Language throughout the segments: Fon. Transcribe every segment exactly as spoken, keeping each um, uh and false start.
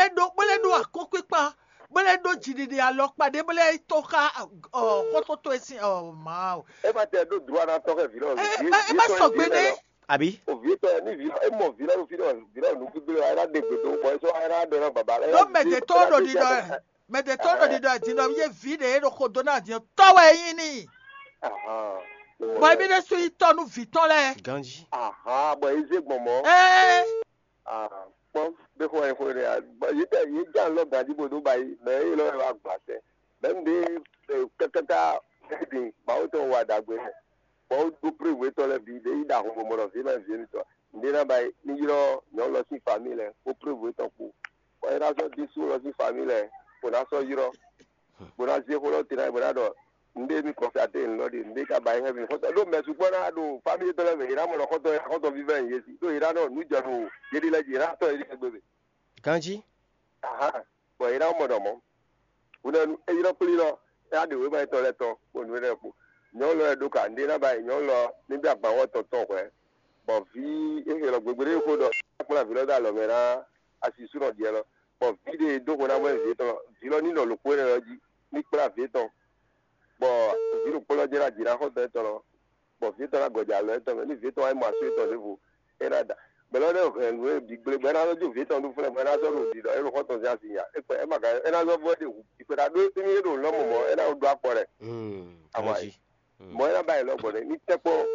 É ɖó bó lɛ́ ɖó akɔ́nkpíkpa, bó lɛ́ ɖó jiɖiɖi alɔkpa ɖé, bó lɛ́ tó xá xɔ́ntɔn towe sín ɔ Mawu. É ma tɛ ɖó dló ana tɔn xɛ vǐ lɔ. É má sɔgbe nɛ́. Àbí? O vǐ tɔn ní vǐ lɔ é mɔ vǐ lɔ ɖo fí ɖɔ vǐ lɔ nǔ gbígbé lɔ é ná ɖe gbe dó bɔ é sɔ́ é ná ɖɔ ná baba lɛ. Ɖó mɛ ɖě tó ɖo ɖiɖɔ mɛ ɖě tó ɖo ɖiɖɔ din ɖɔ yé vǐ ɖě ɖo xo dó ná din tɔ́ wɛ é nyí n'i. Bɔ émí ɖésú nyí tɔ́ nú vǐ tɔn lɛ́ɛ. Ganji. Ahan bɔ é zé gbɔn mɔ. Ee, Ah, kpɔ́n ɖé xó wɛ xó ɖé a. Bɔ yě tɛ yě dza lɔ ganjí bó dó ba yi mɛ é lɔ wá gbà sɛ. Mɛ un ɖe kákáká din Mawu tɔn wa ɖagbe. Bɔ ó ɖó prévu étɔn lɛ́ɛ bǐ ɖé yi ɖa hɔnbɔmɔ ɖɔ vǐ ma vǐ émítɔn. Nǔɖé ná ba yi ní ylɔ́ nyɔ̌nu lɔ sín famíli lɛ́ɛ kpó prévu étɔn kpó. Bɔ é ná sɔ́ ɖésú lɔ sín famíli lɛ́ɛ bó ná sɔ́ ylɔ́ bó ná zé xó lɔ te ná bó ná ɖɔ nǔɖé mi kɔn fia te nǔ lɔ ɖe nǔɖé ka ba yi xɛ mi xɔtɔ ɖó mɛ sukpɔ ná ɖo famille tɔn lɛ mɛ yě ná mɔ ɖɔ xɔtɔ xɔtɔ vívɛ yě si ɖó yě ná nɔ nǔ jɔ ɖo yé ɖi lɛ jí yě ná tɔ yé ɖi xɛ gbé mɛ. Ganji. Aha, bɔ yě ná mɔ ɖɔ mɔ húnɛnu é ylɔ́ kplí lɔ é ná ɖe wěma yětɔn lɛ́ɛ tɔn kpó nǔ énɛ́ kpó nyɔ̌nu lɔ wɛ ɖó ka nǔɖé ná ba yi nyɔ̌nu lɔ ní bí agbanwɔ tɔn tɔn hwɛ̌ bɔ vǐ é xelɔ gbegbe ɖé xó ɖɔ kplá vǐ lɔ dó alɔ mɛ ná asisúnɔ ɖiɛ lɔ bɔ vǐ ɖé e dó xo ná mɔ vǐ tɔn vǐ lɔ ní nɔ lǒkpó énɛ́ lɔ jí ní kplá vǐ tɔn bɔ vǐ ɖokpó lɔ jɛ ná jǐ ná xɔ́ntɔn étɔn lɔ bɔ vǐ tɔn ná gɔjɛ alɔ étɔn mɛ ní vǐ tɔn wá yi mɔ asú étɔn ɖěvo é ná da mɛ lɔ ɖé hɛn nǔ e bǐ gblé bɔ é ná sɔ́ jó vǐ tɔn nú flɛ́ bɔ é ná sɔ́ ɖo ɖiɖɔ é ɖo xɔ́ntɔn sín asi nya é kpɛ é ma ka é ná sɔ́ vɔ é ɖe hu ìkpɛ ɖa ɖó émí é ɖo lɔmɔ mɔ é ná ɖó akpɔ lɛ. Awai. Mɔ é ná ba yi lɔ gbɔn ní tɛ́kpɔ́n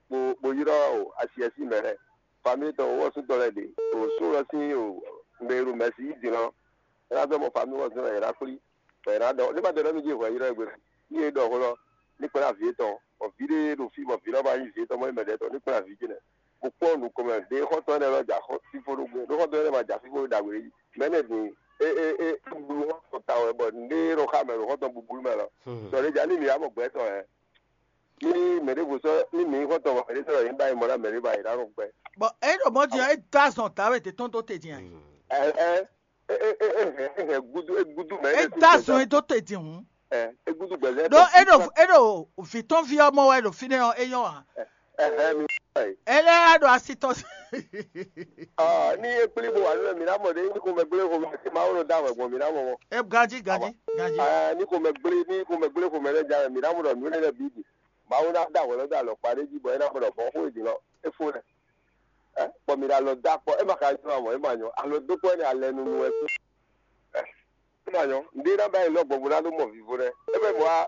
bó bó ylɔ́ o asi ɛ sín mɛ lɛ́ɛ famille tɔn wɔ́sútɔ́ lɛ́ɛ ɖe o só lɔ sín o mɛ e ɖo mɛ̌si yí din lɔ é ná dɔ́ mɔ famille wɔ́sútɔ́ lɛ́ɛ yě ná kplí bɔ yě ná ɖɔ ní ma ɖɔ nɔ́ mì jí hwɛ ylɔ́ ɛ gbe ní e ɖɔ xó lɔ ní kplá vǐ étɔn bɔ vǐ ɖé ɖo fí bɔ vǐ lɔ ma nyí vǐ étɔn mɔ nyí mɛ ɖě tɔn ní kplá vǐ jɛnɛ bó kpɔ́n nǔ ko mɛ ɖě xɔ́ntɔn énɛ́ lɔ jà xɔ fífó ɖó gbé ɖó xɔ́ntɔn énɛ́ ma jà fífó ɖó ɖagbe ɖé jí mɛ̌nɛ din é é é blu xɔ́ntɔn ta wɛ bɔ nǔɖé ɖo xá mɛ ɖo xɔ́ntɔn búblú mɛ lɔ sɔ ɖé jà ní mǐ wá mɔ gbɛ̌ tɔn hɛn ní mɛ ɖěvo sɔ́ ní mǐ xɔ́ntɔn mɔ mɛ ɖé sɔ́ ɖɔ yě ba yi mɔ ná mɛ ɖé ba yi ná nɔ gbɛ. Bɔn é ɖo mɔ din é dó azɔn dǎwe tě tɔn dó te din ayi. Ɛ ɛ é é é é hɛn é hɛn gúdú é gúdú mɛ. É dó azɔn é dó te din hǔn. Ɛ é gúdú gbɛzɛ. Ɖó é ɖo é ɖo vǐ tɔn ví ɔ́ mɔ wɛ ɖo fínɛ́ ɔ́ é nyɔ́ ǎ. Ɛ hɛn mi. É lɛ́ á ɖo asi tɔn sí. Ɔ ní é kplí bó wà nínú mi ná mɔ ɖé ní xomɛ gblé xomɛ tí Mawu nɔ dá wɛ gbɔn mi ná mɔ mɔ. É ganjí ganjí ganjí. Ɛ ní xomɛ gblé ní xomɛ gblé xomɛ lɛ́ɛ dá wɛ mi ná mɔ ɖɔ nǔ énɛ́ lɛ́ɛ bǐ bǐ. Mawu ná dá wɛ lɔ dó alɔkpa ɖé jí bɔ é ná mɔ ɖɔ bɔ xó èdè lɔ é fó lɛ. Ɛ kpɔ mi ɖo alɔ dó akpɔ é ma ka nyɔ amɔ é ma nyɔ alɔ dó kpɔ énɛ́ alɛ nunu wɛ kú. Ɛ é ma nyɔ ŋɖé ná bá yi lɔ gbɔn bó ná ɖó mɔ vivo lɛ é mɛ mɔ wá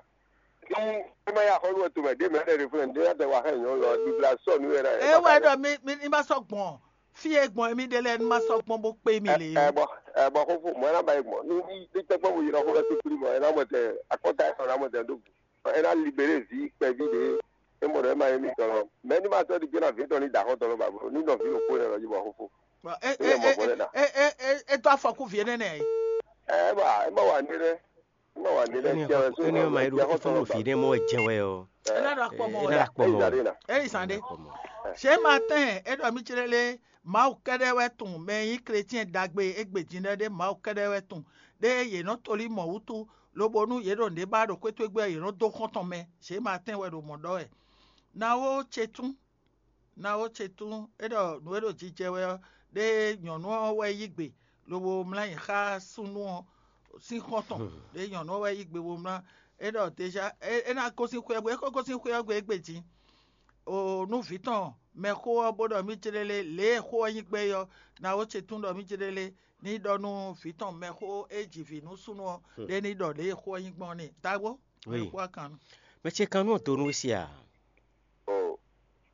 ní é ma yá xɔlú wɛ tomɛ ɖé mɛ ɖe ɖe fúnɛ ŋɖé ná tɛ wá xɛ nyɔ lɔ bibla sɔ nú wɛ ná. É wɛ ɖɔ mi mi ní ma sɔ́ gbɔn fí e gbɔn mi ɖe lɛ ní ma sɔ́ gbɔn bó kpé mi lé. Ɛ bɔ ɛ bɔ xófó mɔ ɛ ná bá yi gbɔn ní ní tɛkpɔ bó yi lɔ xó lɔ sí kplí mɔ ɛ ná mɔ tɛ akɔta ɛ ná mɔ tɛ ɖó ɛ ná libéré ví kpɛví ɖé é mɔ ɖɔ é ma nyí mitɔn lɔ mɛ ní ma sɔ́ ɖi gbé ná ví tɔn ní da xɔtɔn lɔ ba bro ní nɔ ví ɖokpó nɛ lɔ jí bɔ xófó. É é é é é é dó afɔkú vǐ énɛ́ nɛ. Ɛ é ma é ma wà ní ɖɛ é ma wà ní ɖɛ Eni tiɛ wɛ só eni ma yi ɖo efo ɖo fi ɖe mɔ wɛ jɛ wɛ o. É ná ɖo akpɔ mɔ Ena wɛ. ɖo akpɔ mɔ. Ìzàdé nà. É yi zan ɖé. Ṣé Martin é ɖɔ mí jlé lé Mawu kɛ́ɖɛ́ wɛ tunwun mɛ e nyí chrétien ɖagbe égbé din lɛ́ɛ ɖé Mawu kɛ́ɖɛ́ wɛ tunwun ɖé yě nɔ tlí mɔ̌ wútu lobo nú yě ɖo nǔɖé ba ɖo xwé towe gbe ɔ́, yě nɔ dó xɔ́ntɔn mɛ. Ṣé Martin wɛ ɖo mɔ̌ ɖɔ wɛ. Nawo ce tún Nawo ce tún é ɖɔ nǔ e ɖo jijɛ wɛ ɔ́, ɖé nyɔ̌nu ɔ́ wɛ yí gbe lobo mlá nyi xá súnnu ɔ́ sín xɔ́ntɔn. Ɖé nyɔ̌nu ɔ́ wɛ yí gbe bo mlá é ɖɔ déjà é é ná gosín xwé ɔ́ gbe, é ko gosín xwé ɔ́ gbe égbé din. O nú vǐ tɔn mɛxó ɔ́ bó ɖɔ mí jlélé lě e xó ɔ́ nyí gbɛ́ é ɔ́, nawo ce tún ɖɔ mí jlélé ní ɖɔ nú vǐ tɔn mɛxó e ji vǐ nú súnnu ɔ́ ɖé ní ɖɔ lě e xó ɔ́ nyí gbɔn n'i. Dagbó, Oui. Mɛxó akannú. Mɛ ce kan nú donu wɛ sia. Ɔ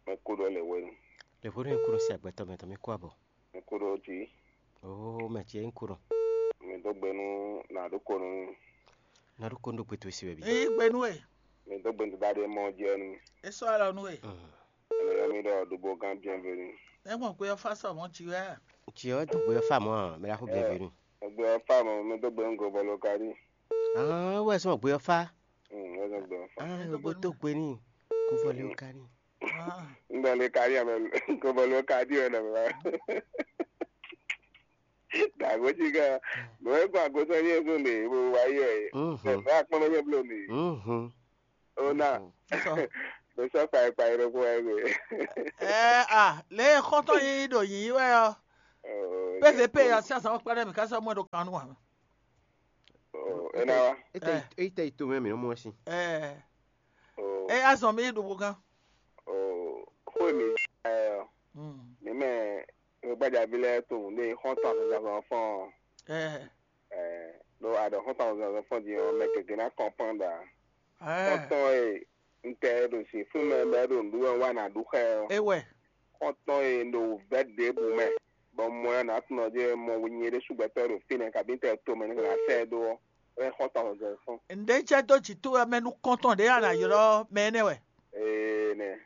mɛ ko ɖɔ lɛ wɛ nu. Le ƒo ɖo ŋku ɖo si agbɛtɔ mɛ tɔn mi kó abɔ. Mɛ ko ɖɔ dzi. Oo mɛ ce ŋku ɖo. Mi dó gbe nú nàɖó ko nú. Na ɖo ko ndo gbe to si wɛ bi. Eyi gbe nú ɛ, Mi dó gbe nú da ɖe mɔ jɛ nú. é sɔ́ alɔ nú ɛ, Ɛnɛ yɔ mi ɖɔ ɖobo gán bienvenue. é mɔ gbé ɔ́ fá sɔ mɔ̌ jí wɛ. Tsi ɔ do gbe fa mɔ mɛ la ko bienvenue. Egbe ɔ́ fa mɔ mi dó gbe nú gobɔ lo ka ɖi. Ah wɛ sɔ gbe fa. Hmm, wɛ zɔ gbe ɔ́ fa. Ah o bo to gbe ni. Ko fɔ le o ka ni. Ah, Ŋgbɛ le ka ɖi amɛ gobɔ lo ka ɖi wɛ nɔ mi wa. Dàgbò tsi ká. Mɛ wɛ gbɔ àgbo sɔ yé zó le wo wa yɔ yɛ. Mhm. Mɛ akpɔn mɛ yɛ blo le. Mhm. O na. sɔ. Mɛ sɔ kpa kpa yɛ ɖo ko wɛ gbe. Ɛ a lě e xɔ́ntɔn yíyí ɖo yǐyí wɛ ɔ́, P V P ya sín azǎn kpɛɖé mǐ ká sɔ́ mɔ ɛ ɖo kan nú ǎ. Ena wa. Ete ite ito mɛ mi nɔ mɔ si. Ɛ eye azɔn mi ɖo gán. Xó mi ɛ mi mɛ gbadzavi lɛ to ne xɔntɔn azɔn fɔn. Ɛ ɖo aɖɔ xɔntɔn azɔn fɔn di ɔ mɛ gɛgɛ na kɔnpɔn ɖa. Xɔntɔn e n tɛ ɖo si fún mɛ bɛ ɖo nǔɖuɖu wɛ wa na ɖu xɛ ɔ. Ewɛ. Xɔntɔn e ɖo vɛ ɖěbǔ mɛ bɔ mɔ ya nǎ tunɔ jɛ mɔ nyɛ ɖésú gbɛtɔ́ ɖo fínɛ́ kabi tɛ tomɛ ní nǎ sɛ ɛ dó ɔ́, é xɔ́ntɔn hɔnzɔn fún. Nɖé jɛ dó jǐ towe mɛ nú kɔntɔn ɖě a nǎ ylɔ́ mɛ énɛ́ wɛ. Ee nɛ.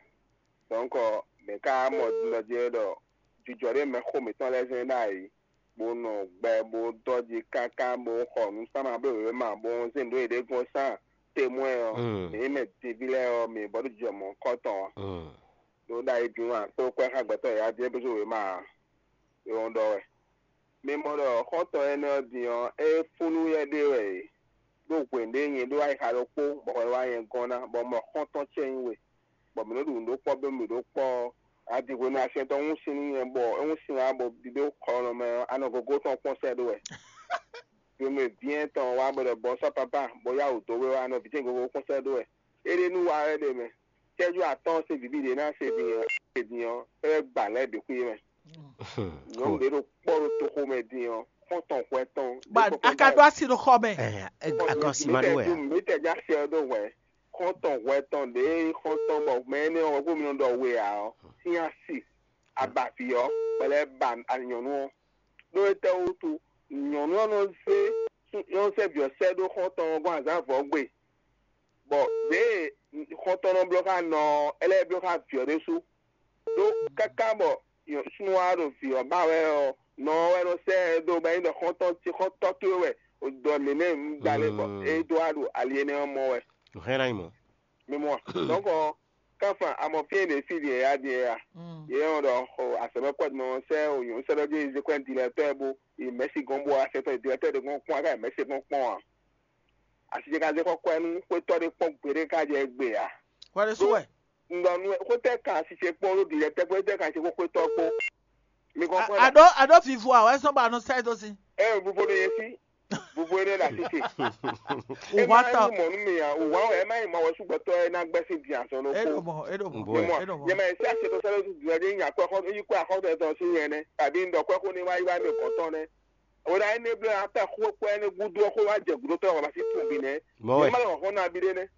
Dɔ̌nkɔ mɛ ka mɔ ɖɔ jɛ ɖɔ jijɔ ɖé mɛ xó mǐtɔn lɛ́ɛ zɛn ɖ'ayǐ, bó nɔ gbɛ bó dɔ́ jí káká bó xɔ nǔ sáma bló wěwé ma bó zé nǔ ɖé gɔ́n sán temwɛ ɔ́, mǐ mɛ deví lɛ́ɛ ɔ́, mǐ bɔ ɖó jijɔ mɔ̌hunkɔtɔn ɔ́. Ɖó ɖ'ayǐ din wá kpó kwɛ́ xá gbɛtɔ́ yǎyá din é bó zó wěma ǎ. É wɔn ɖɔ wɛ. Mi mɔ ɖɔ xɔ́ntɔn énɛ́ ɔ́ din ɔ́, é fúnú yɛ ɖé wɛ è ɖó hwěɖé nyɛ ɖó ayixa ɖokpó bɔ hwɛ wá nyɛ gɔ́n ná, bɔ un mɔ xɔ́ntɔn ce nyi we, bɔ mǐ nɔ ɖu nǔ ɖó kpɔ́ bó mǐ ɖó kpɔ́ ɔ́, a di hwenu asiɛntɔ́ hún sin nú nyɛ bɔ é hún sin wá bɔ ɖiɖó xɔlɔmɛ ɔ́, a nɔ gogó tɔn kpɔ́n sɛ́ ɖó wɛ. Hwenu e vǐ nyɛ tɔn wá bɔ ɖɔ bɔ sɔ́ papá bɔ yá wǔ dó we wá nɔ vǐ ce gogó kpɔ́n sɛ́ ɖó wɛ. É ɖe nú wa wɛ ɖe mɛ. Cɛ́jú atɔ́ɔ́n sín vǐví ɖě ná se din ɔ́, se din ɔ́, é wɛ gba lɛ́ bǐ xwí mɛ. Nyɔ̌nu ɖě ɖo kpɔ́ ɖo toxo mɛ din ɔ́, xɔ́ntɔn hwɛ tɔn. Ba a ka ɖó asi ɖo xɔ mɛ. Agɔn si ma ɖó wɛ a? Mi tɛ já se ɔ́ ɖó hwɛ. Xɔ́ntɔn hwɛ tɔn ɖě xɔ́ntɔn bɔ mɛ énɛ́ ɔ́ hwɛ̌ mi nɔ ɖɔ we ǎ ɔ́, sín asi abavǐ ɔ́, bɔ lɛ́ ba nyɔ̌nu ɔ́. Ɖó étɛ́ wútu? Nyɔ̌nu ɔ́ nɔ zé nɔ zé vǐ ɔ́ sɛ́ ɖó xɔ́ntɔn ɔ́ gɔ́n azǎn vɔ̌ gbe, bɔ ɖěe xɔ́ntɔn nɔ bló xá nɔ ɔ́, é lɛ́ bló xá vǐ ɔ́ ɖésú. Ɖó káká bɔ súnnu wa ɖo vǐ ɔ́ ba wɛ ɔ́, nɔ ɔ́ wɛ nɔ sɛ́ ɛ dó bɔ é nyí ɖɔ xɔ́ntɔn ce xɔ́ntɔn towe wɛ ɖɔ nɛ̌nɛ́ un gba lɛ́ bɔ é dó wá ɖo ali énɛ́ ɔ́ mɔ wɛ. Hɛn ná nyí mɔ̌. Mi mɔ ɔ́, dɔ̌nkɔ kánfan amɔ fí e ɖě fí ɖě yá ɖíe a? Yě nyɔ́ ɖɔ xo azɔ̌mɛ́kpɔ́ mɛ ɔ́ sɛ́ wǒnyɔ́ sɛ́ ɖɔ jí zé kwɛ́ dilɛtɔ́ ɛ bó yi mɛ̌si gɔ́n bó wá sɛ́tɔ́ dilɛtɔ́ ɖě gɔ́n kpɔ́n a ká yi mɛ̌si gɔ́n kpɔ́n ǎ. Asi ce ka zé xɔ kwɛ nú xwétɔ́ ɖé kpɔ́n gbeɖé ká jɛ gbe ǎ. Hwɛ ɖé sú wɛ. Un ɖɔ nú ɛ, xwétɛ́ kan asi ce kpɔ́n ɖó dilɛtɔ́ kpó xwétɛ́ kan asi kpó xwétɔ́ kpó. Mi kɔn xwɛ la. Aɖó aɖó vivo a wɛ sɔ́ ba nɔ sɛ dó sí. Ɛ vuvo ɖo yɛ sí. Vuvo ɖé ɖo asi ce. Ɛ má nyí mɔ̌ nú mi ǎ. Wǎ wɛ ɛ má nyí mɔ wɛ súgbɔtɔ́ ɛ ná gbɛ́ sín din azɔn ɖokpó. Eɖo mɔ eɖo mɔ. Eɖo mɔ. Nyɛ ma yɛ sí asi tó sɛ́dɔ́ dín din ɔ́ ɖé nyí akwɛ́ xɔ yí kwɛ́ axɔ́ tɔn sín nyɛ nɛ́. Tàbí un ɖɔ kwɛ́ xó ní wá yí wá mi gɔ̌n tɔn nɛ́. Wǒ ɖo ayé nébléwú atá xó kpɛ́ énɛ́ gúdo ɔ́ xó wá jɛ gǔdo tɔn wǎ sí tun bǐ nɛ́. Mɔ̌ wɛ. Má lɔ hɔn ná bí ɖé nɛ́.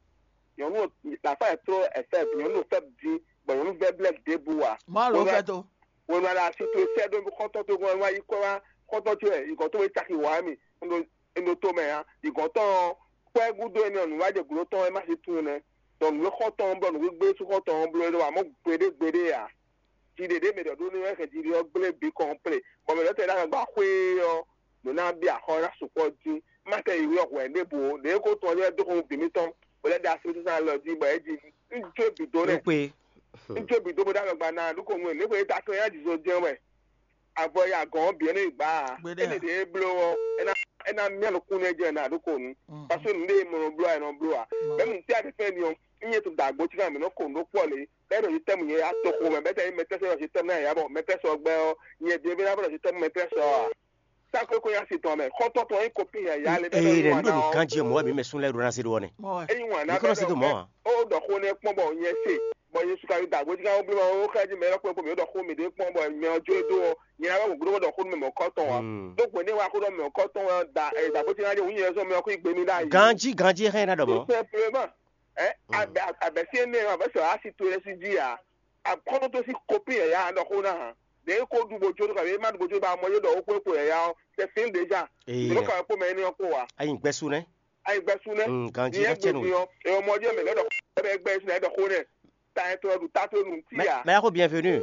Nyɔ̌nu lǎfá ɛ tró ɛfɛ nyɔ̌nu fɛ dín bɔ nyɔ̌nu vɛ blɛ́ ɖěbǔ wá. Má lɔ fɛ tó. Wǒ nɔ ɖo asi towe sɛ́ ɖó xɔ́ntɔn tó gɔ́n wá yi kɔ wá xɔ́ntɔn ce wɛ yi gɔ̌n tó wé caki wǎ mì. Un ɖo tomɛ ǎ. Yi gɔ̌n tɔn ɔ́, kpɛ́ gúdo énɛ́ ɔ́, nǔ wá jɛ gǔdo tɔn wɛ má sí tun nɛ́. Dɔ nǔ e xɔ́ntɔn ɔ́ blɔ́ nǔ gbígbé sú xɔ́ntɔn ɔ́ bló é ɖó wǎ mɔ̌ gbeɖé gbeɖé ǎ. Jiɖe ɖě mɛ ɖɔ ɖó nú wɛ hɛn jiɖe ɔ́ gblé bǐ kɔn plé, bɔ mɛ ɖɔtɛ́ ɖ'agbagba xwé ɔ́, nǔ ná bí axɔ ná sukpɔ́ dín. Má tɛ yi wí ɔ́ hwɛ̌ ɖěbǔ ó, ɖě ko tɔn lɛ́ɛ dó xomú bǐ mitɔn, bó lɛ́ ɖe asúnúsúnú alɔ jí bɔ é jí. Un jó bǐ dó nɛ́. Kpé. Un jó bǐ dó bó ɖ'agbagba ná ɖó ko nú ɛ, lě ko é ta tɔn nyá jǐzo jɛ́n wɛ. Avɔ ya gɔ̌n ɔ́ bǐ ɔ́ nɔ yi gbǎ ǎ. Gbeɖé ǎ. É nɔ ɖe é bló ɔ́, é ná é ná mía nukún nɛ́ jɛ nǎ ɖó ko nú. Mhm. Parce que nǔɖé e mɔ nɔ bló ɛ nɔ bló ǎ. Mhm. Mɛ̌ nǔ tí a ɖe fɛ́n ni ɔ́, un nyɛ to da agbo cí ká mǐ nɔ ko nǔ ɖó kpɔ́ lě, bɛ́ ɖo yi tɛ́mu nyɛ ya toxo mɛ, bɛ́ tɛ nyí mɛtɛ́sɛ ɖɔ yi tɛ́mu ná yǎ bɔ mɛtɛ́sɛ ɔ́ gbɛ́ ɔ́, nyɛ ɖěvé ná bɔ ɖɔ yi tɛ́mu mɛtɛ́sɛ ɔ́ ǎ. Tá kókó nyá si tɔn mɛ, xɔ́ntɔn tɔn nyí kopí yǎyá lé bɛ́ Ee, ɖɔ nǔ ɖo nǔ ganjí ɔ́ mɔ̌ wɛ mǐ mɛ sún lɛ́ɛ ɖó ná zé ɖó ɔ́ nɛ́. Mɔ ɛ. Ényí wǎn ná Mǐ kɔn nɔ bɛ́ se dó ɖɔ mɔ̌ ǎ. Ó ɖɔ xó nɛ́ kpɔ́n bɔ nyɛ se, bɔ nyɛ su ka ɖo dǎgbó jí ká wó bló ma ó xá jí mɛ élɔ́ kpɔ́n kpó mǐ ó ɖɔ xó mǐɖée kpɔ́n bɔ mɛ ɔ́ jó é dó ɔ́, nyɛ ná bɛ́ wǒ gbló bó ɖɔ xó nú mɛ mɔ̌kɔ́tɔn ǎ. Hmm. Ɖó hwě nɛ́ wa xó ɖɔ mɛ mɔ̌kɔ́tɔn wɛ ɔ́ da ɛ dǎgbó jí ná jɛ wǔ nyɛ zɔ́n mɛ ɔ́ xó yi gbe mì ɖ'ayǐ. Ganjí ganjí é xá nyí ná ɖɔ mɔ̌. Tout simplement. Ɛ abɛ abɛ sí énɛ́ ɔ́, abɛ sɔ asi towe lɛ́ɛ sí jí ǎ. Akɔ́nɔ tó sí kopí yǎyá ɖɔ xó ná hǎn. Ɖě é ko ɖu bó jó ɖó kabǐ é má ɖu bó jó ba mɔ yé ɖɔ ó kó é kpo yǎyá ɔ́, c'est fini déjà. Ee. Nǔ ka wɛ kpó mɛ énɛ́ ɔ́ kpó wa. Ayi gbɛ́ sú nɛ́. Ayi gbɛ́ sú nɛ́. Mm, ganjí Nyɛ ká cɛ nú. Gbèdì ɔ́, èèyàn mɔ jẹ́ mɛ lẹ́dọ̀ xó bẹ́ẹ̀ gbẹ́ sí lẹ́dọ̀ xó nɛ́. Ta ɛ tó ɛ ɖu ta tó nu tí Mɛ a. Mɛ yako bienvenue.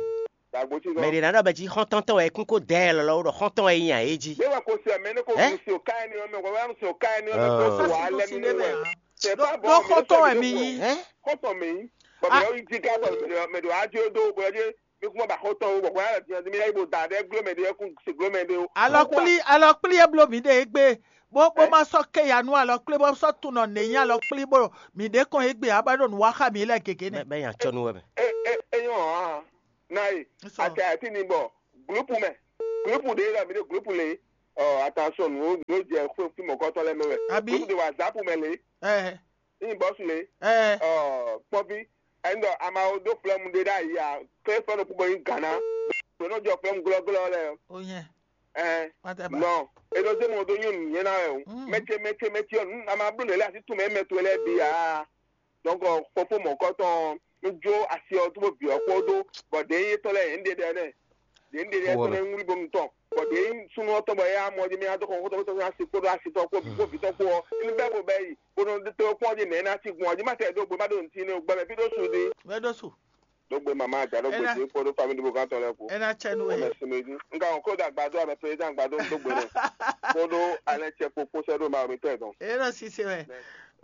Dàgbò tí Mɛ ɖe ná ɖɔ bɛ jí xɔ́ntɔ́ntɔ́ wɛ kún kó dɛ lɔlɔ ɖɔ xɔ́ntɔ́n wɛ yí nya é jí. Mɛ wa ko se mɛ ne ko Ɛ? Nu si o ka ɛni ɔmɛ, wa nu si o ka ɛni ɔmɛ Ɔ. Ko so wa lɛ Sisi mi ne mɛ wɛ. a. C'est Ɖo pas bon, ɖo mais xɔtɔn ça, wɛ mi c'est yí. Bon. Ɛ? Xɔtɔn mi yí. Bɔn Ah. Mɛ yi di ka bɔ mɛ do mɛ do ajo do bɔ je mi kuma ba xɔtɔn wo bɔ ya di mi yi bo da de glo mɛ de ku se glo mɛ de o. Alɔkpli alɔkpli e bló mǐ ɖe égbé bó bó Ɛ? Ma sɔ́ kéya nú alɔkpli bó sɔ́ tunɔ nɛ̌ nyí alɔkpli bó mǐ ɖě kɔn égbé ǎ bɔ é ɖo nǔ wa xá mǐ lɛ́ɛ gěgé nɛ. Bɛ nya cɔ nú wɛ mɛ. E e e yɔn hàn. Na yi Sɔ. Ati ati ni bɔ gulupu mɛ. Groupe ɖé ɖɔ mi ɖe groupe lé. Ɔ, attention, nǔ nǔ jɛ xwé fí mɔ̌kɔtɔn lɛ́ɛ mɛ wɛ. Abi? Groupe de WhatsApp mɛ lé. Ɛ, Ní bɔsu lé. Ɛ, Ɔ, kpɔvi. Ɛnɔ amawo dó flɛmu ɖé ɖ'ayǐ a. Kle fɛn ɖokpó bɔ nyí Ghana. Ɖo nɔ jɔ flɛmu glɔ́glɔ́ lɛ́ɛ. O nyɛ. Ɛ, Whatever. Nɔ. Eɖo zé mɔ ɖó nyɔnu nyɛ na wɛ o. Mm. Mɛtse mɛtse mɛtse ɔ, nu ama bló nɛ lɛ asi tún mɛ mɛ towe lɛ bi a. Donc fofo mɔ̌kɔtɔn, un jó asi ɔ́ tó bó bǐ ɔ́ kpódó, bɔ ɖě nyí étɔn lɛ́ɛ yě ń ɖe ɖɛ nɛ́. Ɖě ń ɖe ɖɛ étɔn nɛ́ ŋlí bó nu tɔn. Bɔ ɖě nyí súnnu ɔ́ tɔn bɔ éyá mɔ jí mɛ adó xɔxɔtɔn tó tɔn asi kpódó asi tɔn kpó bǐ kpó vǐ tɔn kpó ɔ́, ní bɛ́ bo bɛ́ yi, bó nɔ tó kpɔ́n jí nɛ̌ ná cí gbɔn ɔ́ jí má tɛ ɖó gbe má ɖo nǔtí nɛ́ gbɛ mɛ fí ɖó su ɖi. Vɛ ɖó su. Ɖó gbe mama aja ɖó gbe Ena- dín kpódó famíli bó gán tɔn lɛ́ɛ kpó. Ena cɛ nu Ó e. Mɛ sinmi jí. Un ka wɔn kó ɖo agbadó abɛ président agbadó dó gbe nɛ. Kpódó alɛ cɛ kpó kpó sɛ́ ɖó ma mi tɔn ɛ dɔn. Ena sise wɛ.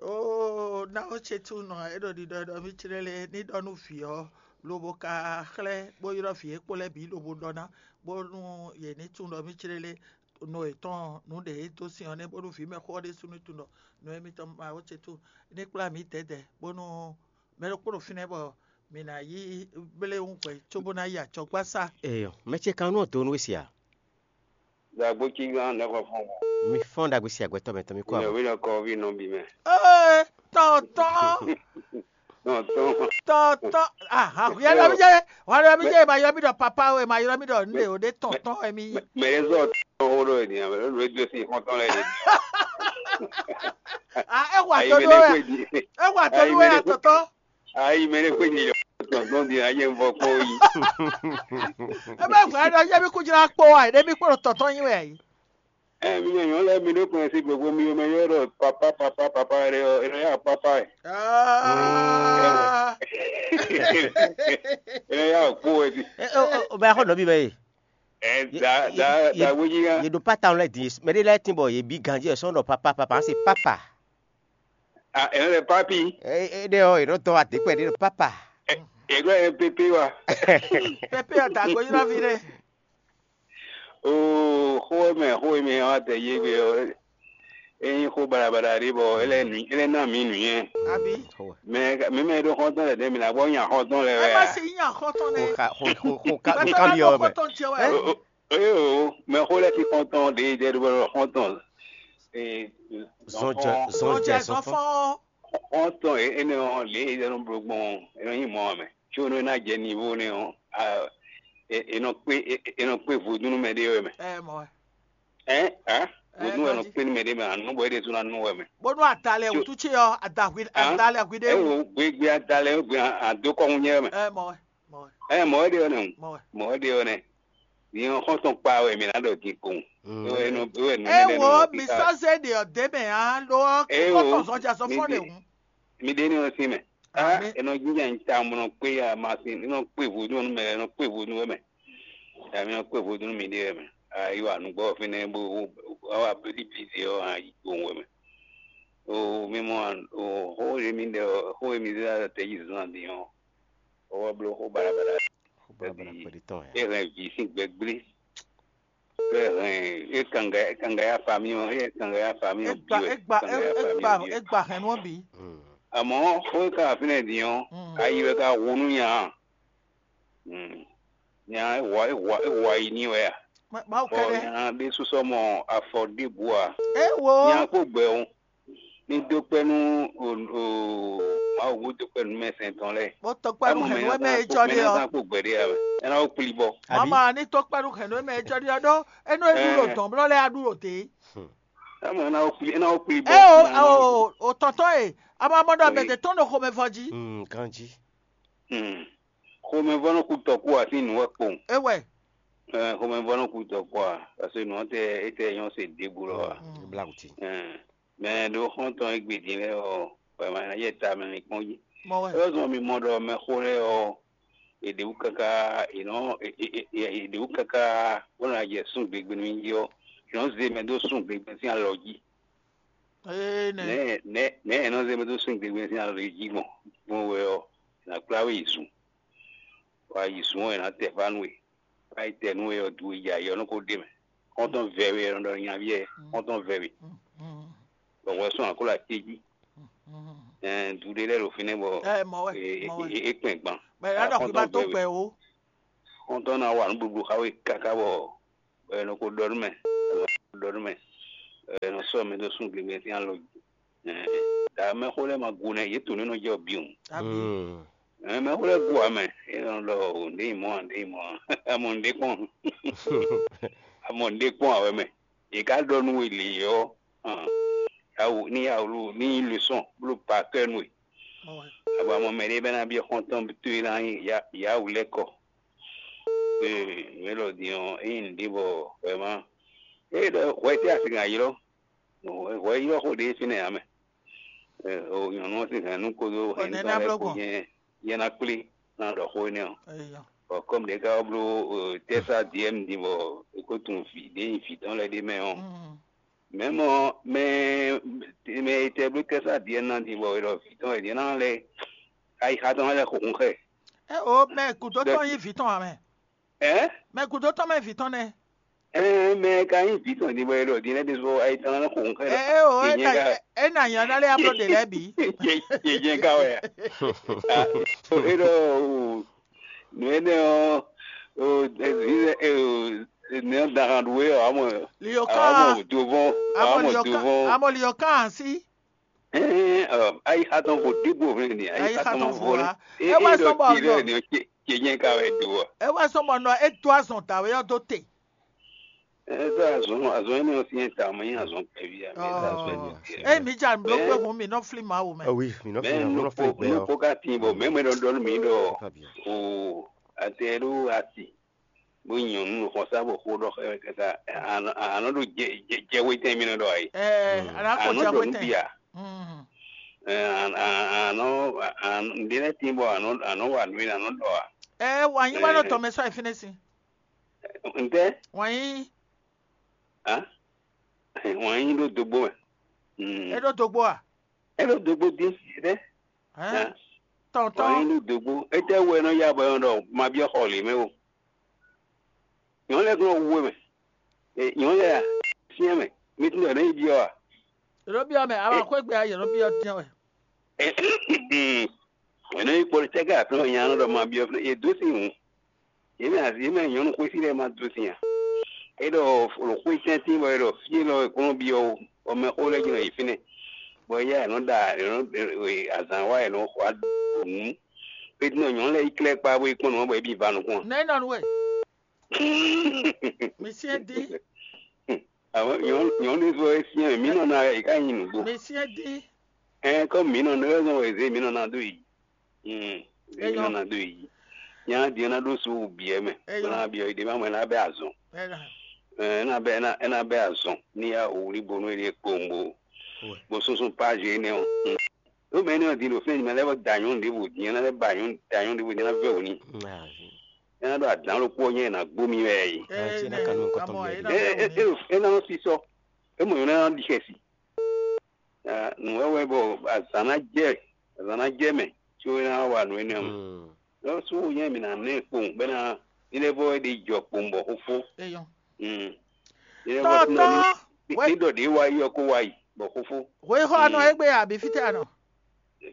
Oo, na wo ce tu nɔ eɖo ɖiɖɔ ɖɔ mi clé lé ní ɖɔ nú vǐ ɔ́, lobo ka xlɛ́ bó ylɔ́ vǐ e kpó lɛ́ɛ bǐ lobo ɖɔ ná, bónú yě ní tunwun ɖɔ mí clé lé no yětɔn nǔ ɖě e dó sin ɔ́ nɛ́, bónú vǐ mɛxó ɔ́ ɖésú ní tunwun ɖɔ nǔ e mitɔn ma wo ce tu ní kplá mǐ dɛ̌dɛ̌, bónú mɛ ɖokpó ɖo fínɛ́ bɔ mǐ ná yí bléwún hwɛ̌ cóbó ná yi acɔgbásá. Eyɔ, mɛ ce kan nú ɔ́ dó nú we sia? Dagbo cí gán nɛ́ xɔ fún wọn. Mi fɔ́n ɖagbe sia gbɛtɔ́ mɛ tɔn mi kó Ìyẹn àwọn. Wí nɔ kɔ ví nɔ bí mɛ. Ee, tɔntɔn, Nɔ tɔn. Tɔntɔn, ah, ah, yɛ lɔ mi jɛ, wa lɔ mi jɛ, ma ylɔ mi ɖɔ papa o, ma ylɔ mi ɖɔ nɖe o, ɖe tɔntɔn wɛ mi. Mɛ mɛ yɛ zɔ tɔn wo ɖo ènìyàn mɛ lónìí wɛ dó sí xɔntɔn lɛ yé. Ah, e wa Ayi tɔnu mɛ ne wɛ, xwé di. E wa tɔnu Ayi wɛ mɛ ne xwé. Atɔtɔ. Ayi mɛ ne xwé di yɔ tɔntɔn di ayé ń bɔ kpó yi. E bɛ gblɔ ɖɔ yɛ mi kú jra kpó wa, ɖe mi kpó ɖo tɔntɔn nyi wɛ yi. Ɛ mi nyɔnyɔ lɛ mi ɖo kplɔn si gbogbo mi yɔ mɛ yɔ ɖɔ papa papa papa ɖe ɔ, ɖe ya papa ɛ. Ah. Ɖe ya kpó ɛ di. O bɛ xɔ nɔbi bɛ ye. Ɛ da da da wodzi ya. Ye ɖo pata lɛ di, mɛ ɖe lɛ tin bɔ ye bi ganji ɛ sɔn ɖɔ papa papa se papa. Ah, ɛ lɛ papi. E ɖe ɔ, ye ɖo tɔ ate kpɛ ɖe papa. Ɛ ɖo ɛ pepe wa. Pepe ɔ da gbe yɔrɔ vi ɖe. Oo, xó e mɛ xó e mɛ ɔ́ adɛ yé gbe ɔ́, é nyí xó baɖabaɖa ɖé bɔ é lɛ́ nǔ é lɛ́ ná mǐ nǔnywɛ́. Abi. Mɛ mǐ mɛ e ɖó xɔ́ntɔn lɛ́ɛ ɖɛ̌ mǐ ná gbɔ nya xɔ́ntɔn lɛ́ɛ wɛ Ɛ ma a? Si nya xɔ́ntɔn nɛ́. Xó ka xó xó xó ka Mɛ xó tɔn ka ná byɔ́ gbɔ wɛ mɛ. Xɔ́ntɔn ce wɛ. O- o- Eye o, mɛ xó lɛ́ɛ sín xɔ́ntɔn ɖě e jɛ ɖó bɔ xɔ́ntɔn. Ee, Zɔn jɛ zɔn Zɔn jɛ jɛ zɔn zɔn fɔ́n. Fɔ́n. Xɔ́ntɔn e énɛ́ ɔ́ lě e é nɔ bló gbɔn ɔ́, é nɔ nyí mɔ̌ ǎ mɛ. Có nú é ná jɛ nivo nɛ́ ɔ́, a, è è nɔ kpé è è nɔ kpé vodúnnú mɛ ɖé wɛ mɛ. Ɛ mɔ wɛ. Ɛn a Ɛ, vodún wɛ nɔ ganjí. Kpé nú mɛ ɖé mɛ ǎ nú bɔ é ɖésú ná nú wɛ mɛ. Bónú adalɛ Tso- wútu ce ɔ́, adahwi Hã? Adalɛ hwi ɖé Ɛ wú. Wo gbégbé adalɛ wé gbé adó kɔ́ ŋu nyɛ wɛ mɛ. Ɛ mɔ wɛ. Mɔ wɛ. Ɛ mɔ wɛ ɖé ɔ́ nɛ Mɔ wɛ. Mɔ wɛ ɖé ɔ́ nɛ. Nyɛ ɔ́ xɔ́ntɔn kpa wɛ mǐ ná ɖɔ din kpowun. Mm. É wɛ nɔ é wɛ nɔ Ɛ nɛnɛ wo nɔ mi kíká. Sɔ́ zé ɖe ɔ́ dé mɛ ǎ lo ɔ́ Ɛ kókó wo tɔn zɔn jɛ zɔn mi fɔ́n ɖe ɖe hǔn. Mi ɖe ní ɔ́ sín mɛ. Á Amǐ. È nɔ jínjɔ́n nyi ta mɔ nɔ kpé ya ma sín nɔ kpé vodún ɔ́ nú mɛ nɔ kpé vodún wɛ mɛ. Amí nɔ kpé vodún nú mi ɖe wɛ mɛ. Ayi wa nǔgbɔ fínɛ́ bó wá wá blí blí zé ɔ́ ayi gbowun wɛ mɛ. O mi mɔ o xó e mi ɖe ɔ xó e mi zé ɖo tɛ́ jí zɔn din ɔ́, o wá bló xó baɖabaɖa. Xó baɖabaɖa kpɛɖé tɔn ya. É hɛn vǐ sín gbɛgblé. É hɛn é kanga é kanga ya fa mì ɔ́, é kanga ya fa mì ɔ́ Egba bǐ wɛ. Egba Kanga ya fa mì egba ɔ́ bǐ wɛ. Egba hɛn nú ɔ́ bǐ. Mm. Àmọ́ xó e ka wá fínɛ́ din ɔ́, Mm. ayi wɛ ka hu nú nya. Mm. Nya é hwa é hwa é hwa yi ní wɛ a? Mawu Bɔ kɛɖɛ. Nya ɖé súsɔ mɔ afɔ ɖěbǔ a? Ewo. Nya kpó gbɛ o. Ní dó kpɛ́ nú o o Mawu bó dó kpɛ́ nú mɛ sɛn tɔn lɛ́ɛ. Bó tɔkpɛ́ nú hɛ̌nnu e mɛ é jɔ ɖe ɔ́. Mɛ ná kpó gbɛ ɖé a? Ɛ ná wó kplí bɔ. Àbí? Mama ní tɔkpɛ́ nú hɛ̌nnu e mɛ é jɔ ɖe ɔ́ ɖó é nɔ é ɖu ɖo Ɛɛ. Dɔ̌n blɔ́ lɛ́ɛ á ɖu ɖo dě. Ɛ mɔ ɛ ná wó kplí ɛ ná wó kplí bɔ. É o Ná wó o o tɔntɔn e a ma mɔ ɖɔ mɛ Oyi. Ɖě tɔn ɖo xomɛ vɔ jí. Mm, ganjí. Hmm. Xomɛvɔ́nɔ́ kú tɔkú ǎ sín nǔ wɛ kpowun. É wɛ. Ɛɛ, xomɛvɔ́nɔ́ kú tɔkú ǎ, parce que nǔ ɔ́ tɛ é tɛ nyɔ́ se ɖěbǔ lɔ ǎ. Mm. Bla kuti. Ɛɛ, mɛ ɖo xɔ́ntɔn e gbe din lɛ́ɛ ɔ́, wɛ ma ná yɛ ta mɛ mi kpɔ́n jí. Mɔ wɛ. É wɛ zɔn mi mɔ ɖɔ mɛxó lɛ́ɛ ɔ́, è ɖě wú káká è nɔ è- è- è- è- è ɖě wú káká bó ná jɛ sún gbegbe nú nyi jí ɔ́, è nɔ zé mɛ dó sún gbegbe sín alɔ jí. Ee nɛ. Nɛ̌ nɛ̌ nɛ̌ è nɔ zé mɛ dó sún gbegbe sín alɔ jí gbɔn? Gbɔn wɛ ɔ́, è nǎ kplá we yi zun. Wá yi zun ɔ́, è nǎ tɛ fá nú we. Wá yi tɛ nú we ɔ́, du e jɛ ayǐ ɔ́ nɔ ko ɖe mɛ. Xɔ́ntɔn vɛ́ we è nɔ ɖɔ nyaví ɛ, xɔ́ntɔn vɛ́ we. Bɔ hwɛ sɔ́ akló até jí. Ɛɛ du ɖé lɛ́ɛ ɖo fínɛ́ bɔ Ɛ mɔ wɛ, e- mɔ wɛ. E- e kpɛn gban. Mɛ ɛ ɖɔ kí ba tó gbɛ o. Xɔ́ntɔn ná wa nǔɖuɖu xá we káká bɔ bɔ è nɔ ko ɖɔ nú mɛ, è nɔ ko ɖɔ nú mɛ, è nɔ sɔ́ mɛ dó sún gěgé sín alɔ jí. Ɛɛ, ta mɛxó lɛ́ɛ ma gu nɛ, yě tunwun nú nɔ jɛ bǐ o. Abi. Ɛɛ, mɛxó lɛ́ɛ gu ǎ mɛ, é nɔ ɖɔ o, nǔɖé yi mɔ̌ ǎ, nǔɖé yi mɔ̌ ǎ. Amɔ nǔɖé kpɔ́n, amɔ nǔɖé kpɔ́n ǎ wɛ mɛ. Yě ká ɖɔ nú we lě ɔ́, hàn, yáwǔ ní yáwǔ ní nyí losɔn bló pakɛ́ nú we. Ɔ́ wɛ. Abɔ amɔ mɛ ɖé bɛ́ ná byɔ́ xɔ́ntɔn towe ná nyí yá- yáwǔ lɛ́ kɔ. Ee, mɛ lɔ din ɔ́, é nyí nǔɖé bɔ hwɛ má. É ɖɔ hwɛ tɛ́ a sixú ná ylɔ́? Hwɛ ylɔ́ xó ɖé fínɛ́ ǎ mɛ. Ee, o nyɔ̌nu ɔ́ sín hɛ̌nnu kpódó Bɔ nɛ̌ ná hɛ̌nnutɔ́ lɛ́ɛ bló kpó gbɔn? Jɛ́n yɛ ná kplé ná ɖɔ xó énɛ́ ɔ́. Eya. Bɔ kɔ́mu ɖě ká wá bló tɛ́sá diɛ́m din bɔ é ko tunwun vǐ ɖé nyi vǐ tɔn lɛ́ɛ ɖ'é mɛ ɔ́, Mm. mɛ̌ mɔ mɛ mɛ e tɛ bló tɛ́sá diɛ́m ná din bɔ è ɖɔ vǐ tɔn wɛ din ná lɛ́ ayixa tɔn lɛ́ xo hun xɛ. Ɛ o, mɛ gǔdo tɔn nyí vǐ tɔn ǎ mɛ. Ɛ? Mɛ gǔdo tɔn mɛ vǐ tɔn nɛ́. Ɛ, mɛ ka nyí vǐ tɔn din bɔ è ɖɔ din lɛ́ɛ ɖésú ayixa tɔn lɛ́ xo hun xɛ. Ɛ o, Yě nyɛ ká. É nà nyɔ ná lé abló ɖe lɛ́ɛ bǐ. Yě nyɛ ká wɛ. É ɖɔ nǔ énɛ́ ɔ́, nɛ́ ɔ́ dahan ɖu é ɔ́, amɔ Liyo amɔ kan, dovɔn, amɔ amɔ Liyo kan, dovɔn. Amɔ Liyo kan asi. Ayixa tɔn ko ɖěbǔ hwlɛ́n ni, ayixa tɔn ma vo lá. É wá sɔ́ bɔ nɔ. Yě nyɛ ká wɛ do ɔ́. É wá sɔ́ bɔ nɔ é dó azɔn dǎwe ɔ́ dó te. Ɛ sɔ azɔn azɔn énɛ́ ɔ́ syɛ́n ta mɛ nyí azɔn kpɛví a mɛ ta azɔn énɛ́ ɔ́ syɛ́n. Eye mǐ ja nǔ ɖó kpé hun mǐ nɔ flí Mawu mɛ. Wi, mǐ nɔ fi Mɛ nǔ nɔ nukpo fi gbɛ ɔ́. Nukpo ka tin bɔ mɛ mɛ ɖɔ ɖɔ nú mǐ ɖɔ Très bien. O ate ɖó ati bó nyɔnu nɔ xɔsa bɔ xó ɖɔ xɛ kaka anɔ ɖo jɛ jɛ jɛ wetɛn mi nɔ ɖɔ ayi. Ɛ ana ko Anɔ jɛ ɖɔ nu wetɛn. Bia. Mm. Ɛ anɔ anɔ ɖe lɛ tin bɔ anɔ anɔ wa nu anɔ ɖɔ a. Ɛ wa nyi wa nɔ tɔmɛ sɔ ayi fínɛ́ si. Ntɛ Wa nyi a wan nyi ɖó dogbo mɛ. Mm. É ɖó dogbo a? É ɖó dogbo dín ɖé. Hɛn. Wan nyi Tɔntɔn. Ɖó dogbo. Étɛ́ wú wɛ nɔ ya bɔ è nɔ ɖɔ ma byɔ́ xɔ lě mɛ o? Nyɔ̌nu lɛ́ɛ kún nɔ wu we mɛ. Nyɔ̌nu lɛ́ɛ a? Syɛ́n mɛ. Mi tún ɖɔ nɛ̌ yi byɔ́ a? Ɖó byɔ́ mɛ, a ma xwé gbe a yě nɔ byɔ́ dín wɛ. È nɔ yi kpɔ́ tɛ́ ká aklúnɔ nya nɔ ɖɔ ma byɔ́ fínɛ́, yě dó sin hǔn. Yě mɛ azǐ yě mɛ nyɔ̌nu xwésí lɛ́ɛ ma dó sin a? É ɖɔ ɖo xwé tɛ́ntin bɔ è ɖɔ fí élɔ́ è kplɔ́n byɔ́ ó, bɔ mɛxó lɛ́ɛ jɛ́n nɔ yi fínɛ́, bɔ éyɛ́ è nɔ ɖa è nɔ e azǎn wa è nɔ xwa nǔ. Pétínɔ nyɔ̌nu lɛ́ɛ yi klɛ́ kpa bó yi kpɔ́n nǔ ɔ́ bɔ é bǐ va nukún a? Nɛ̌ nɔ nú we? Mi syɛ́n dín. Àwọn nyɔ̌nu nyɔ̌nu ɖé sɔ é syɛ́n mì nɔ ná yɛ ká nyi nǔgbó. Mi syɛ́n dín. Ɛn kɔmi mǐ nɔ nɔ é zɔn wɛ zé mǐ nɔ ná dó yi. Mm, zé mǐ nɔ ná dó yi. Nya din ɔ́ ná ɖó so wú bǐ ɛ mɛ. Bó ná byɔ́ yi ɖě má mɔ é ná bɛ́ azɔn. Ɛ é ná bɛ́ é ná é ná bɛ́ azɔn ní yá wǔlí bónú é ɖíe kpowun bó bó súnsún pázi énɛ́ ɔ́. Ɖó mɛ énɛ́ ɔ́ din ɖo fínɛ́ mɛ lɛ́ɛ bɔ da nyɔ̌nu ɖěvo din ɔ́ ná lɛ́ ba nyɔ̌nu da nyɔ̌nu ɖěvo din ná vɛ́ wǔ n'i. É ná ɖo adǎn ɖokpó ɔ́ nyɛ è nǎ gbó mì wɛ yi. Ɛ ná ka nú nukɔntɔn mɔ mì é wɛ ná ɖe. Ɛ ɛ ɛ ɛ ɛ ná nɔ sisɔ. É mɔ nyɔ̌nu ná ɖi xɛsi. Nǔ wɛwɛ bɔ azǎn ná jɛ azǎn ná jɛ mɛ có é ná wa nǔ énɛ́ ɔ́ mɛ. Lɔ sú nyɛ mǐ ná nɛ kpowun bɔ é ná ní lɛ́ vɔ é ɖi jɔ kpowun bɔ xófó. Eyɔn. Ní lɛ́ vɔ Tɔ́tɔ́, ní wɛ- ní ɖɔ ɖě wá yi ɔ́ kó wá yi bɔ xófó. Hwexɔ anɔ égbé abǐ fítɛ́ anɔ?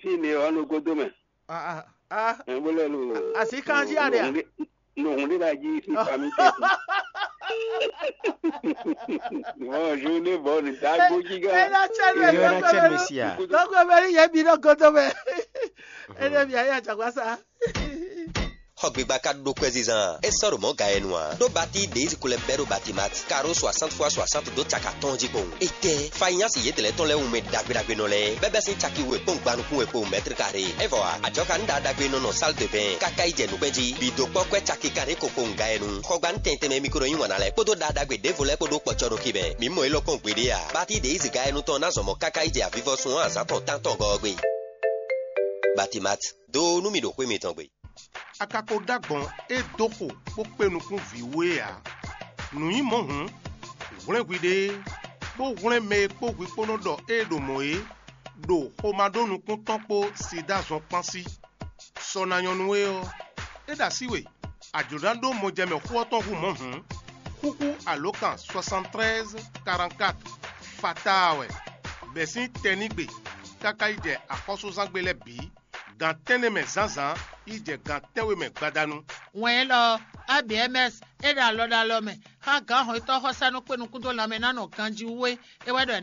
Fí mi ɔ́ nɔ gúdo mɛ. Ah, ah, ah. Ɛ bó lɛ lo. Asi kan jí aɖe a? Nɔhun ɖé la jí sí fami tɛ. Bonjour ne bɔ ne dagbo jí gã. Ena tsɛ nu Yo ena tsɛ nu sia. Kɔkɔ bɛ ni yɛ bi nɔ godo mɛ. Ene bi ayi atsakwa sa. Xɔ gbigba ka ɖo kwɛzizan e sɔ́ ɖo mɔ̌ ga yɛ nu ǎ. Ɖó Bati Deiz kulɛ bɛ́ ɖo Batimat karo soixante fois soixante dó caki atɔ́ɔ́n jí kpowun. Étɛ́, Fanyasi yědɛlɛ́ tɔn lɛ́ɛ wunmɛ ɖagbe ɖagbe nɔ lɛ́ɛ, bɛ́ bɛ́ sín caki we kpɔ́n gbanukún we kpowun mɛ́tri karé. É vɔ ǎ, ajɔ̌ ka ní ɖaɖagbe nɔ nɔ sál de bɛn káká yi jɛ nǔkpɛ́n jí. Bǐ dó kpɔ́ kwɛ́ caki kanɖé ko kpowun ga yɛ nu. Xɔgban tɛntɛn mɛ mikro yí wǎn ná lɛ́ɛ kpódó ɖaɖagbe ɖěvo lɛ́ɛ kpó ɖó kpɔ̌cɔ́nukí mɛ. Mǐ mɔ élɔ́ kpɔ́n gbeɖé ǎ. Bati Deiz ga yɛ nu tɔn ná zɔn mɔ káká yi jɛ avivɔsun ɔ́ azǎn tɔn tántɔn gɔ́ ɔ́ gbe. Batimat, dó nú mì ɖo xwé mitɔn gbe. A ka ko ɖó agbɔ̌n e dó xo bó kpé nukún vǐ we ǎ. Nǔ nyí mɔ̌ hǔn, hwlɛ́n hwiɖée, bó hwlɛ́n mɛ e kpó hwi kpó nɔ ɖɔ ée ɖo mɔ̌ é, ɖo xomá ɖó nukún tɔn kpó Sidáa zɔn kpán sí. Sɔ ná nyɔ́ nú we ɔ́, é ɖo así we, a jlǒ ná ɖó mɔjɛmɛ xó ɔ́ tɔn hú mɔ̌ hǔn, xúxú alǒkan soixante-treize quarante-quatre fatáa wɛ, bɛ̌ sín tɛnígbe káká yi jɛ axɔ́súzángbe lɛ́ɛ bǐ, gan tɛ́nnɛ mɛ zǎnzǎn yi jɛ gan tɛ́nwe mɛ gbadanu. Wɛn élɔ́ ɔ́, A B M S é ɖo alɔ ɖo alɔ mɛ, xá gǎn hɔnnyitɔ́ xɔsá nɔ kpé nukún dó lanmɛ ná nɔ ganjí wú é. É wɛ ɖɔ